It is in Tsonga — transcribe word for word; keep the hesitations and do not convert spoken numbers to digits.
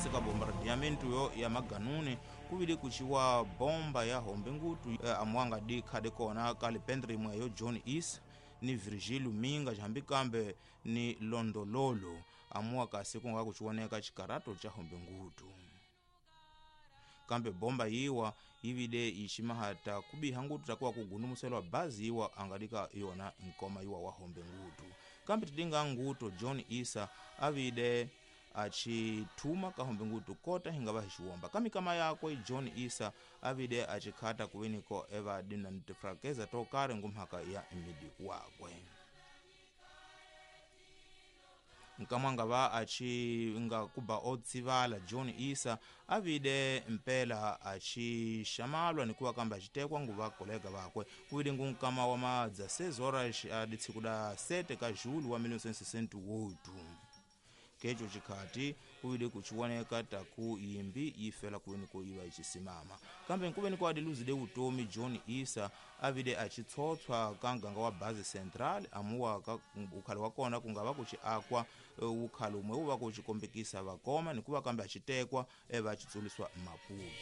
Kasi ka bombardiamento yo ya maganuni kuvile kuciwa bomba ya hombe ngutu eh, amuanga di khade kona ka lipendre imwe yo John East ni Virgilio Minga jambi kambe ni Londololo amuwa kasi kunga kuchiwoneka chikarato cha hombe ngutu. Kambe bomba yiwa yivide iximahata kubiha ngutu takuwa kugunumuselwa bazi yiwa angadika yona nkoma yiwa wa hombe ngutu. Kambe tidinga nguto John Isa avide achithuma kahombe ngutu kota hingava hixiwomba. Kamikama yakwe John Isa avide achikhata kuweniko eva dina ntifrakeza tokare ngumhaka ya mmidi wakwe. Nkamwanga va achi nga kuba otsivala John Isa avide mpela achi xamalwa ni kuva kamba achitekwa nguva kolega vakwe. Kuvile ngu nkama wa madza seis horas aditsiku da sete ka julho wa mil novecentos e sessenta e oito. Kecho chikhati kuvile kuchiwoneka taku yimbi yifela kuweni ko iva ichisimama. Kambe nkuveni ko adiluzile utomi John Isa avide achitsotswa ka nganga wa base central amuwa ka ukhalo wa kona kungava kuchi akwa ukhalo umwe uva kuchikombekisa vakoma nikuva kambe achitekwa eva achitsuliswa Maputo.